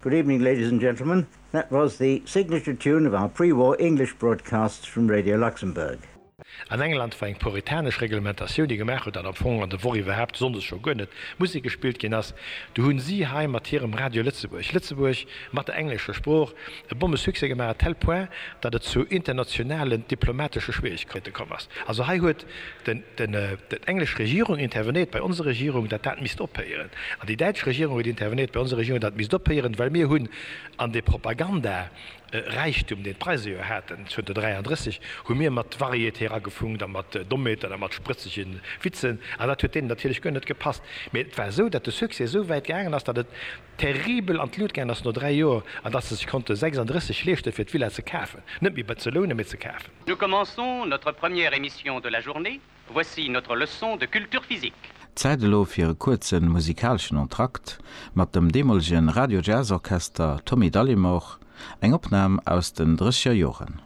Good evening, ladies and gentlemen. That was the signature tune of our pre-war English broadcasts from Radio Luxembourg. An England war eng puritanesch Reglementatioun, déi gemaach huet, datt am Fong an der Woch iwwerhaapt, sonndes scho guer net, Musek gespillt ginn ass. Du hunn si hei mat hirem Radio Lëtzebuerg, Lëtzebuerg mat der englescher Sprooch, e Bommesuccès gemaach, à tel point, datt et zu internationalen diplomatesche Schwierigkeite komm ass. Also hei huet den, den, d'englesch Regierung intervenéiert bei onser Regierung, datt dat misst ophéieren. An déi däitsch Regierung huet intervenéiert bei onser Regierung, datt et misst ophéieren, well mir hunn an dee Propaganda, Räichtum, deen d'Preise jo haten zënter 33, hu mir mat Varieté eragefunkt a mat Dommheeten a mat sprëtzege Witzen, an dat huet deenen natierlech guer net gepasst. Mee et war esou, datt de Succès esou wäit gaangen ass, datt et terribel an d'Lut gaangen ass no 3 Joer, an datt se sech konnte 36 leeschten, fir d'Villa ze kafen, net méi ze lounen, mee ze kafen. Nous commençons notre première émission de la journée. Voici notre leçon de culture physique. Zäit elo fir e kuerze musikaleschen Entracte mat dem deemolegen Radio Jazz Orchester Tommy Dallimore, eng Opnam aus den drësseger Joren.